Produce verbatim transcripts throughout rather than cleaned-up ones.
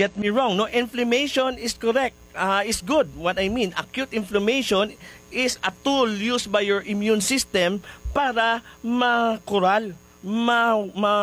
get me wrong, no? Inflammation is correct, ah, is good. What I mean, acute inflammation is a tool used by your immune system para makural, ma, ma,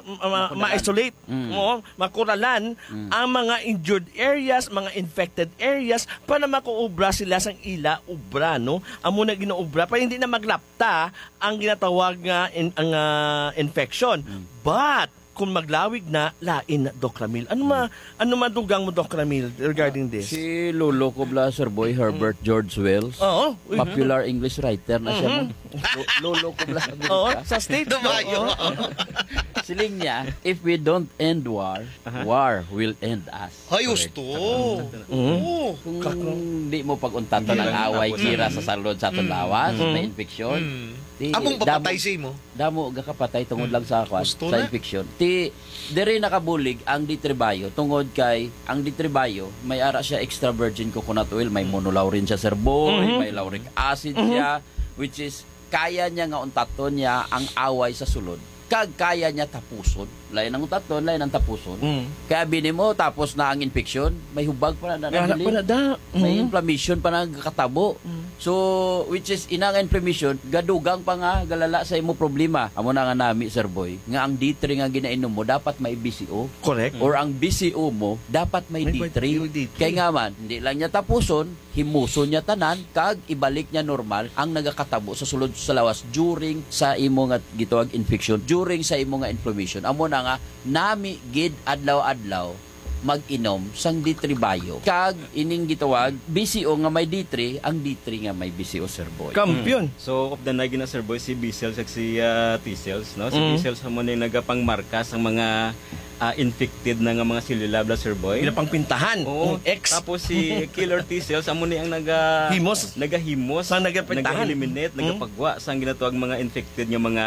ma, ma-isolate, mm, mo, makuralan, mm, ang mga injured areas, mga infected areas, para makaobra sila sang ila obra, no? Amo na ginaobra para hindi na maglapta ang ginatawag nga in, ang, ah, infection. Mm. But kung maglawig na, lain na, Doc Ramil. Ano ma, mm, ano madugang mo, Doc Ramil, regarding this? Si Lolo ko bla, Sir Boy, Herbert George Wells. Oo. Popular English writer na siya, mhm, no? Lo-, Lolo ko bla, Amerika. Oo, sa state. Dumayo. Oo. Siling niya, "If we don't end war, aha, war will end us." Ay, correct, gusto. Mhm. Oo. Kung di mo pag-untaton ang away, kira sa salud sa aton lawas, may infection. Di, among damo, papatay sa imo. Damo gakapatay tungod lang sa kwan, sa infection. Ti, diri nakabulig ang D three Bio tungod kay ang D three Bio may ara siya extra virgin coconut oil, may monolaurin siya, Sir Boy, may lauric acid siya, which is kaya niya nga untaton niya ang away sa sulod. Kag kaya niya tapuson. Lain ang untaton, lain ang tapuson. Mm. Kaya bini mo, tapos na ang infection, may hubag pa na, na, na, na, na, na. May inflammation pa nagkatabo. Mm. So, which is, ina nga inflammation, gadugang pa nga, galala sa imo problema. Amo na nga nami, Sir Boy, nga ang D three nga ginainom mo, dapat may B C O. Correct. Or ang B C O mo, dapat may D three. May D three. Kay nga man, hindi lang niya tapuson, himuson niya tanan, kag ibalik niya normal ang nagakatabo sa sulod sa lawas during sa imo nga gitawag infection, during sa imo nga inflammation. Amo na nga, nami gid adlaw-adlaw mag-inom sang D three Bio. Kag ining gitawag B C O nga may D three, ang D three nga may B C O, Sir Boy. Kampiyon. Mm. So, of the nine gina, Sir Boy, si B cells kag si, ah, T cells, no? Si, mm, B cells amo ni nagapangmarka sang mga, ah, infected na nga mga selula, bla, Sir Boy. Ginapangpintahan. Oo. Ang X. Tapos si killer T cells amo ni ang naga-, himos, nagahimos, sa nagapintahan, nag-eliminate, mm, nagapagwa sang ginatawag mga infected nga mga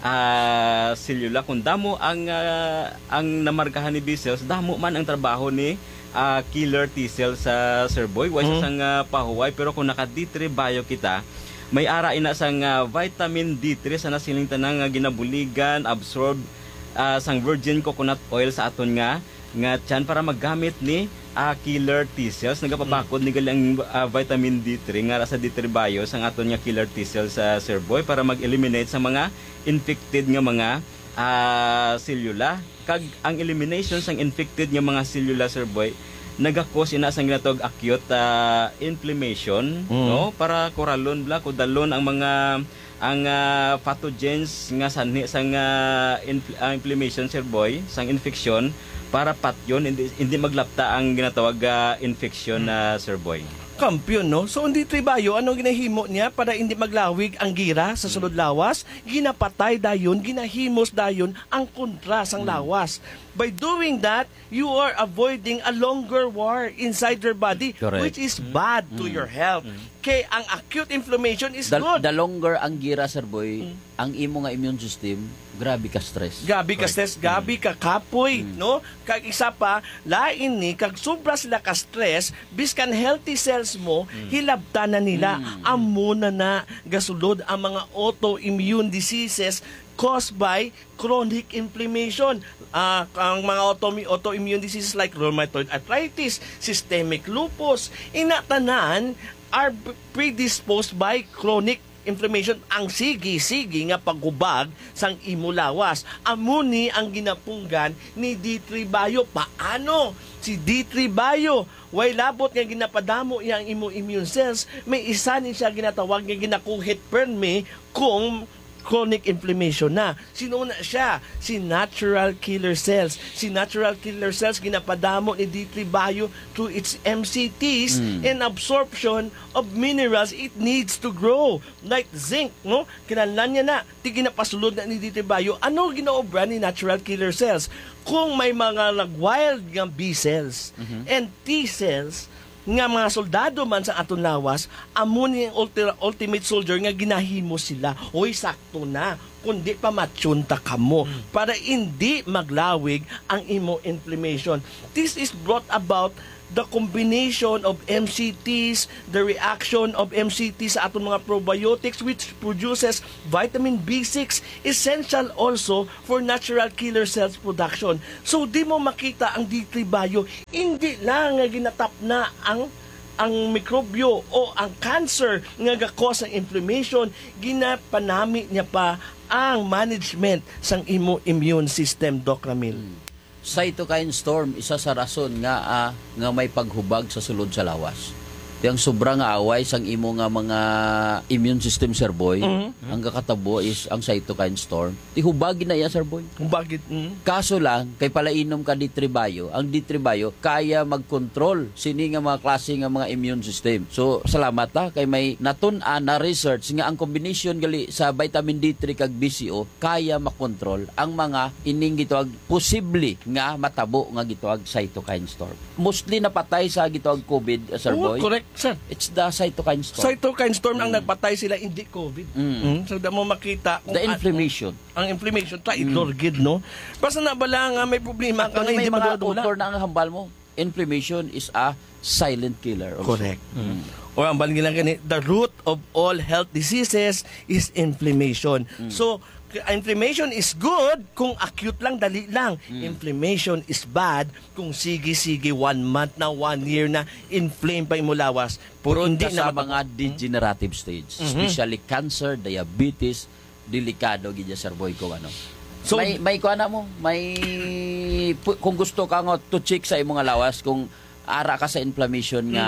ah, selula. Kung damo ang, ah, ang namarkahan ni B cells, damo man ang trabaho ni, ah, killer T cells sa, Sir Boy. Wa siya, mm, sang, ah, pahuway, pero kung naka D three Bio kita, may ara ina sang, ah, vitamin D three sa nasiling tanan nga ginabuligan, absorb, ah, sang virgin coconut oil sa aton nga nga tiyan para maggamit ni, ah, killer T cells. Nagapabakod ni gali ang, ah, vitamin D three nga ara sa D three Bio sang aton nga killer T cells sa, Sir Boy, para mag-eliminate sa mga infected nga mga, ah, selula. Kag ang elimination sang infected nga mga selula, Sir Boy, nagakos ina sang ginatawag acute, ah, inflammation, mm, no? Para kuralon, bla, kudalon ang mga ang, ah, pathogens nga sanhi sang, ah, inf-, ah, inflammation, Sir Boy, sang infeksyon, para patyon, hindi, hindi maglapta ang ginatawag, ah, infeksyon, ah, Sir Boy. Kampiyon, no? So, ang D three Bio, ano ginahimo niya para hindi maglawig ang gira sa sulod lawas? Ginapatay dayon, ginahimos dayon ang kontra sang lawas. By doing that, you are avoiding a longer war inside your body, correct, which is bad to your health. Kay ang acute inflammation is good. The longer ang gira, Sir Boy, ang imo nga immune system, grabe ka stress. Grabe ka stress, grabe ka kapoy, no? Kag isa pa, lain ni, kag sobra sila ka stress, biskan healthy cells mo, hilabtan na nila. Amo na na gasulod ang mga autoimmune diseases caused by chronic inflammation. Ah, ang mga automi-, autoimmune diseases like rheumatoid arthritis, systemic lupus, ina tanan are predisposed by chronic inflammation, ang sige-sige nga paghubag sang imo lawas. Amo ni ang ginapunggan ni D three Bio. Paano? Si D three Bio, way labot nga ginapadamo iya ang imo immune cells, may isa ni siya ginatawag nga ginakuhit permi kung chronic inflammation na. Sino na siya? Si natural killer cells. Si natural killer cells ginapadamo ni D three Bio through its M C Ts and absorption of minerals it needs to grow, like zinc, no? Kinahanglan niya na, ti ginapasulod na ni D three Bio. Ano ginaobra ni natural killer cells? Kung may mga nag-wild nga B cells and T cells, nga mga soldado man sa aton lawas, amo ni ang ulti-, ultimate soldier nga ginahimo sila. Hoy, sakto na, kundi pa matyon ta kamo para hindi maglawig ang imo inflammation. This is brought about The combination of M C Ts, the reaction of M C T sa aton mga probiotics, which produces vitamin B six, essential also for natural killer cells production. So, di mo makita ang D three Bio, hindi lang nga ginatapna ang, ang mikrobyo o ang cancer nga ga-cause ang inflammation, ginapanami niya pa ang management sang imo immune system, Doc Ramil. Hmm. Cytokine storm, isa sa rason nga, ah, nga may paghubag sa sulod sa lawas. Ti ang sobra nga away sang imo nga mga immune system, Sir Boy, Mhm. ang kakatabo is ang cytokine storm. Ti hubag na iya, Sir Boy. Hubag gid, mm. Kaso lang, kay palainom ka D three Bio, ang D three Bio kaya mag-control sini nga mga klase nga mga immune system. So, salamat ta kay may natun-an na research nga ang combination gali sa vitamin D three kag B C O kaya makontrol ang mga ining gitawag posible nga matabo nga gitawag cytokine storm. Mostly napatay sa gitawag COVID, uh, Sir Oo, Boy. Correct, sir. It's the cytokine storm. Cytokine storm ang Mm. nagpatay sila, hindi COVID. Mm. Mm, so, da mo makita kung The an-, inflammation. Ang inflammation, traidor Mm. gid, no? Basta na bala nga may problema ka Actually, nga may hindi mga madula-dula. Author na ang hambal mo. Inflammation is a silent killer also. Correct. Mm. O ang bali lang gani, the root of all health diseases is inflammation. Mm. So, k-, inflammation is good kung acute lang, dali lang. Mm. Inflammation is bad kung sige-sige, one month na, one year na, inflame pa imo lawas. Pero Prone hindi ka na sa mata-, mga hmm? degenerative stage, Mhm. especially cancer, diabetes, delikado gid ya, Sir Boy, kung ano. So, may, may kuha na mo, may, pu-, kung gusto ka nga to check sa imo nga lawas, kung ara ka sa inflammation nga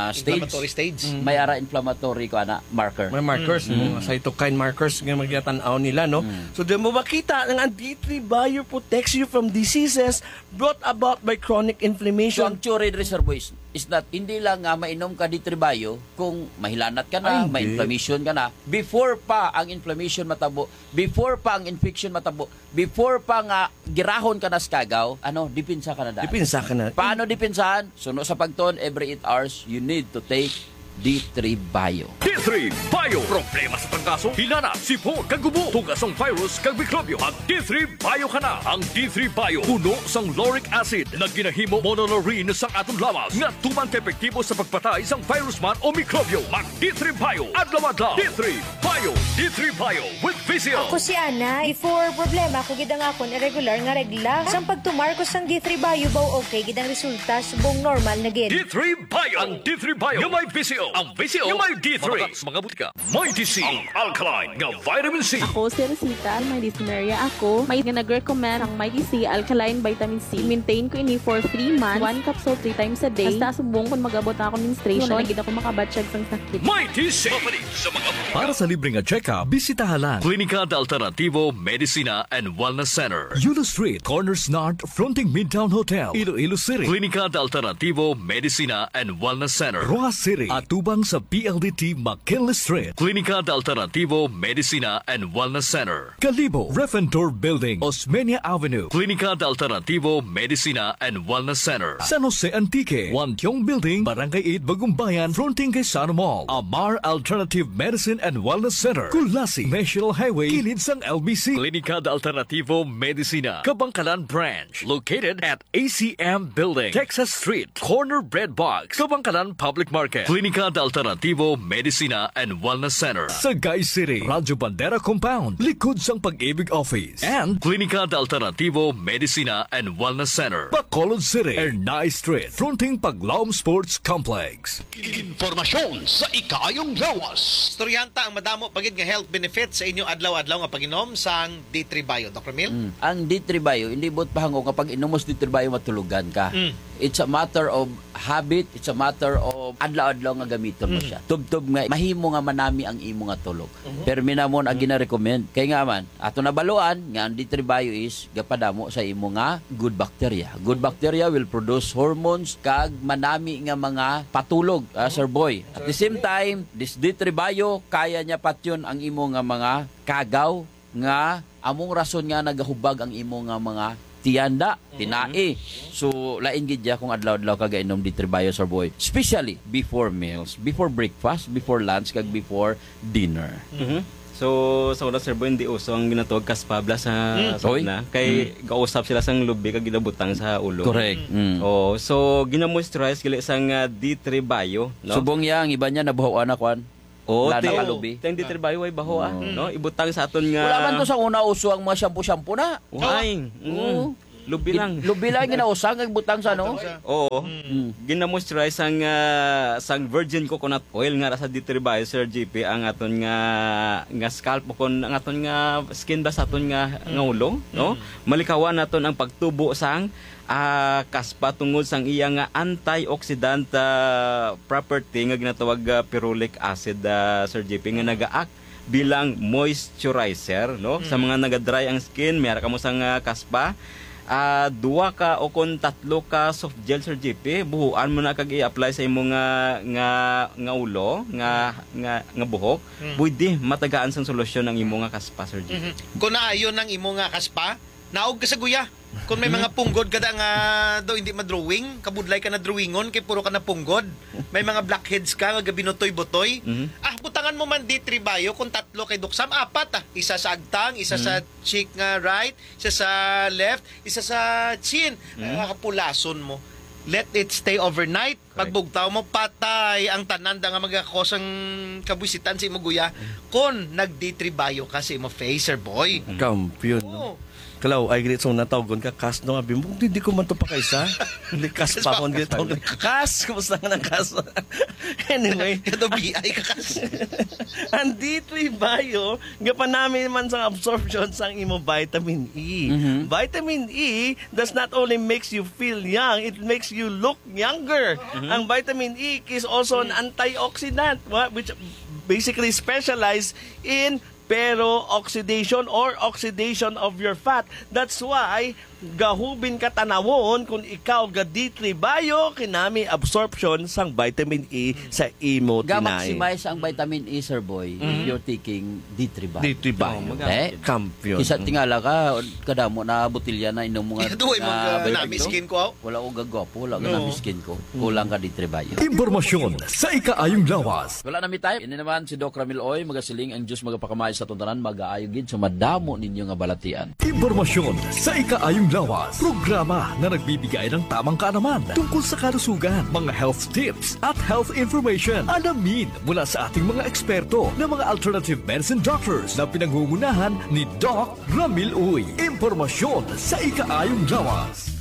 Hmm. stage, Inflammatory stage. Hmm. may ara inflammatory ko ana marker. May markers, Mm. mga cytokine markers nga magtatan-aw nila, no? Mm. So, di mo makita nga ang D three Bio protects you from diseases brought about by chronic So, inflammation. Ang theory diri, Sir Boy, is, is that hindi lang nga mainom ka D three Bio kung mahilanat ka na, Ay, hindi. may inflammation ka na. Before pa ang inflammation matabo, before pa ang infection matabo, before pa nga girahon ka na sa kagaw, ano, depensa ka na daan. Depensa ka na. Paano depensahan? Suno sa pagtuon, every eight hours, you need to take D three Bio. D three Bio. Problema sa trangkaso, hilanat, sipon, kag ubo, tugas sang virus, kag mikrobyo. Mag D three Bio ka na. Ang D three Bio puno sang lauric acid nga ginahimo monolaurin sang aton lawas nga tuman ka epektibo sa pagpatay sang virus man o mikrobyo. Mag D three Bio adlaw-adlaw. D three Bio. D three Bio with V C O. Ako si Anay. Before, problema ko gid ang akon irregular nga regla. Sang pagtumar ko sang D three Bio, baw okay gid ang resulta, subong normal na gid. D three Bio. Ang D three Bio nga may V C O. Ang V C O nga may D three. Mababa sa mga butika. Mighty C, ang alkaline nga vitamin C. Ako si Rosita, may dysmenorrhea ako. May nga nag-recommend ang Mighty C alkaline vitamin C. Maintain ko ini for three months, one capsule three times a day. Hasta subong kung mag-abot na ako menstruation, Wala na gid ako makabatyag sang sakit. Mighty C. Mapalit sa mga butika. Para sa libre nga check-up, bisitaha lang Klinika de Alternativo Medicina and Wellness Center. Yulo Street, Corners North, fronting Midtown Hotel, Iloilo City. Klinika de Alternativo Medicina and Wellness Center. Roxas City, atubang sa P L D T McKinley Street. Klinika de Alternativo Medicina and Wellness Center. Kalibo, Ref and Tour Building, Osmeña Avenue. Klinika de Alternativo Medicina and Wellness Center. San Jose Antique, Wantiong Building, Barangay eight, Bagumbayan, fronting kay Sano Mall. Amar Alternative Medicine and Wellness Center, Culasi, National Highway, kilid sang L B C. Klinika de Alternativo Medicina, Kabangkalan Branch, located at A C M Building, Texas Street, corner Bread Box, Kabangkalan Public Market. Klinika de Alternativo Medicina and Wellness Center, Sagay City, Radyo Bandera Compound, likod sang Pag-ibig Office. And Klinika de Alternativo Medicina and Wellness Center, Bacolod City, Ernai Street, fronting Paglaom Sports Complex. Impormasyon sa ikaayong lawas. Istoryahan ta ang madamo pa gid nga health benefits sa inyo adlaw-adlaw nga pag-inom sang D three Bio, Doc Ramil. Mm. Ang D three Bio, hindi buot pahangop nga pag-inom mo sa D three Bio, matulogan ka. Mm. It's a matter of habit, it's a matter of adlaw-adlaw nga gamiton mo Mm. siya. Tubtob nga mahimo nga manami ang imo nga tulog. Mhm. Permi namon ang Mhm. gina-recommend. Kay nga man, ato nabaluan nga ang D three Bio is gapadamo sa imo nga good bacteria. Good bacteria will produce hormones kag manami nga mga patulog, ah, Sir Boy. At the same time, this D three Bio, kaya niya patyon ang imo nga mga kagaw nga among rason nga nagahubag ang imo nga mga tiyan da, Mhm. tinai. So, lain gid ya kung adlaw-adlaw ka gainom D three Bio, Sir Boy. Especially before meals, before breakfast, before lunch, kag before dinner. Mhm. So, sa una, Sir Boy, hindi uso ang ginatawag kaspabla sa, Mm. sa Oy. una. Kay Mm. gausap sila sang lubi kag ginabutang sa ulo. Correct. Mm. Oo. So, ginamoisturize gali sang, ah, D three Bio, no? Subong niya, ang iba niya nabuhawan na kwan. Oo, Lana te-, kalubi. Ang D three Bio ay baho, ah, Oo. no? Ibutang sa aton nga Wala man to sa una uso ang mga shampoo-shampoo na. Ay, mm. Oo. Lubi Gin-, lang. lubi lang ginausang, nagbutang sa ano? Butang sa Oo. Mm. Ginamoisturize sang, ah, sang virgin coconut oil nga ra sa D three Bio, Sir G P, ang aton nga, nga scalp o kon ang aton nga skin ba sa aton nga, nga Mm. ulo, no? Mm. Malikawan naton ang pagtubo sang, ah, kaspa tungod sang iya nga antioxidant, ah, property nga ginatawag, ah, ferulic acid, ah, Sir G P, nga nagaak bilang moisturizer, no? Sa Mm. mga naga-dry ang skin, may ara kamo sang, ah, kaspa. Ah, duha ka o kon tatlo ka soft gel, Sir G P, buhuan mo na kag i-apply sa imo nga, nga, nga ulo, nga, nga, nga buhok. Mm. Pwede matagaan sang solusyon ang imo nga kaspa, Sir G P. Mhm. Kung naayo nang imo nga kaspa, naog ka sa guya. Kung may Mhm. mga punggod ka da nga daw hindi madrawing, kabudlay ka na drawingon kay puro ka na punggod. May mga blackheads ka nga gabinutoy-butoy. Mhm. Ah, butangan mo man D three Bio kung tatlo kay Doc Sam, apat ah. Isa sa agtang, isa sa Mhm. cheek nga right, isa sa left, isa sa chin. Mhm. Ah, hapulason mo. Let it stay overnight. Correct. Pagbugtaw mo, patay ang tanan da nga magakos ang kabusitan sa imo guya Mm. kon nag-D three Bio ka sa imo face, Sir Boy. Mm. Kampiyon, no? Oo. Kalaw, ay, grit, so natawgon ka, kas, no? Abi mo, "Hindi ko man to pakaisa." Hindi, kas pa, Kas pa, kung kas grit, pa. kas, kumusta ka ng kas? Anyway. Kato B I ka, kas. Ang D three Bio, gapanami man sa absorption sang imo vitamin E. Mhm. Vitamin E does not only makes you feel young, it makes you look younger. Mhm. Ang vitamin E is also an Mm. antioxidant, wa-, which basically specialize in peroxidation or oxidation of your fat. That's why gahubin ka tanawon kung ikaw ga D three Bio, kinami absorption sang vitamin E Mm. sa imo tinai. Ga-maximize ang vitamin E, Sir Boy, if Mm. you're taking D three Bio. D three Bio. Oh, magamit Eh? yun. Kampiyon. Kisa tingala ka, kadamo na botilya na inom mga Ito ay na mga vitamin. nami skin ko, aw. Wala ko gagwapo, wala ka No. nami skin ko. Kulang ka D three Bio. Impormasyon sa ikaayong lawas. Wala na mi time. Ini naman si Doc Ramil Oy, magasiling ang Diyos magapakamay sa atong tanan, magaayo gid sa madamo ninyo nga balatian. Impormasyon sa ikaayong lawas. Programa na nagbibigay ng tamang kaalaman tungkol sa kalusugan, mga health tips, at health information. Alamin mula sa ating mga eksperto na mga alternative medicine doctors na pinangungunahan ni Doc Ramil Uy. Impormasyon sa ikaayong lawas.